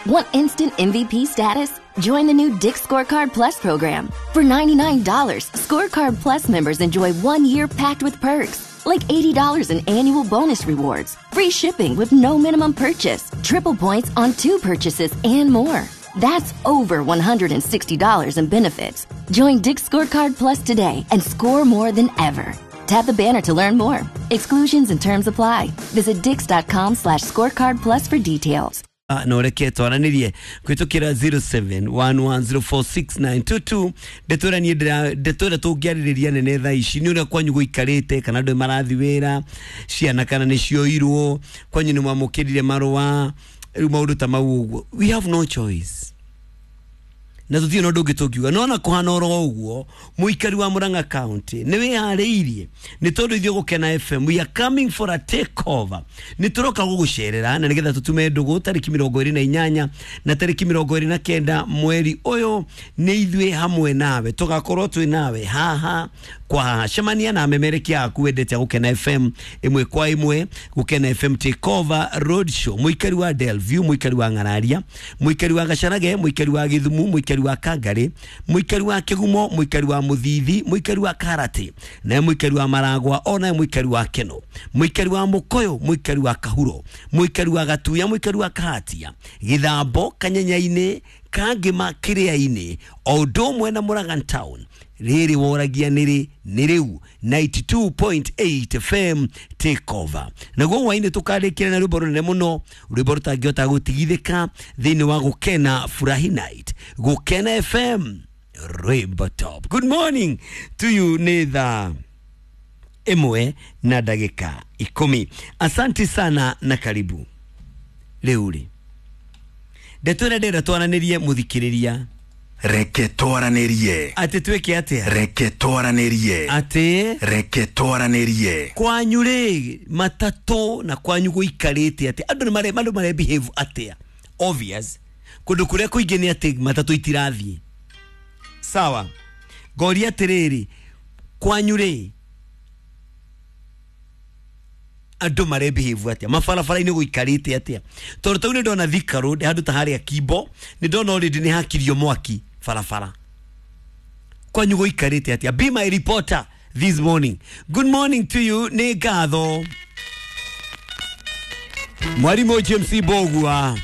Want instant MVP status? Join the new Dick's Scorecard Plus program. For $99, Scorecard Plus members enjoy 1 year packed with perks, like $80 in annual bonus rewards, free shipping with no minimum purchase, triple points on two purchases, and more. That's over $160 in benefits. Join Dick's Scorecard Plus today and score more than ever. Tap the banner to learn more. Exclusions and terms apply. Visit dicks.com/scorecard plus for details. Na ũreke twaranĩrie kũhĩtũkĩra 0711046922. Ndeto ĩrĩa niĩ ndeto ĩrĩa tũngĩarĩrĩria nene thaa ici nĩ ũrĩa kwanyu gũikarĩte, kana andũ marathi wĩra, ciana kana nĩ cioirwo, kwanyu nĩ mwamũkĩrire marũa, rĩu maũndũ ta mau ũguo. We have no choice na tũtirĩ na ũndũ ũngĩ tũngiuga no na kũhana oro ũguo. Mũikari wa Murang'a County, nĩ wĩharĩirie? Nĩ tondũ ithuĩ Gũkena FM, we are coming for a take over. Nĩ tũroka gũgũcerera na nĩgetha tũtume ndũgũ tarĩki 28 na tarĩki 29 mweri ũyũ. Nĩ ithuĩ hamwe nawe, tũgakorwo twĩ nawe haha kwa haha. Cemania na amemerekia aku wendete a Gũkena FM ĩmwe kwa ĩmwe. Gũkena FM Take Over Road Show. Mũikari wa Delview, mũikari wa Ng'araria, mũikari wa Gacarage, mũikari wa Gĩthumu, mũikari wa Kangari, mũikari wa Kĩgumo, mũikari wa Mũthithi, mũikari wa Karati, naye mũikari wa Maragwa, onaye mũikari wa Keno, mũikari wa Mũkoyo, mũikari wa Kahuro, mũikari wa Gatuya, mũikari wa Kahatia, Gĩthambo, Kanyenya-inĩ, Kangĩma, Kĩrĩa-inĩ, o ũndũ ũmwe na Mũragan Town. Rĩrĩ woragia nĩrĩ? Nĩ rĩu 92.8 FM Take Over. Naguo hwainĩ tũkarĩkĩra na rwĩmbo rũnene mũno, rwĩmbo rũtangĩhota gũtigithĩka thĩinĩ wa Gũkena Furahi Night. Gũkena FM, rwĩmbo top. Good morning to you. Nĩ thaa 1 na ndagĩka 10. Asanti sana na karibu. Rĩu rĩ, ndeto ĩrĩa ndĩrenda twaranĩrie, mũthikĩrĩria. Reke twaranĩrie. Atĩ twĩke atĩa? Reke twaranĩrie. Atĩ? Reke twaranĩrie. Kwanyu rĩ, matatũ na kwanyu gũikarĩte atĩa? Andũ nĩ mare andũ mare behave atĩa? Obvious, kũndũ kũrĩa kũingĩ nĩ atĩ matatũ itirathiĩ. Sawa, ngoria atĩrĩrĩ, kwanyu rĩ, andũ mare behave atĩa? Mabarabara-inĩ gũikarĩte atĩa? Tondũ tau nĩ ndona Thika Road, handũ ta harĩa Kimbo, nĩ ndona already nĩ hakirio mwaki barabara. Kwanyu gũikarĩte atĩa? Be my reporter this morning. Good morning to you. Nĩ ngatho, mwarimũ James Mbogua.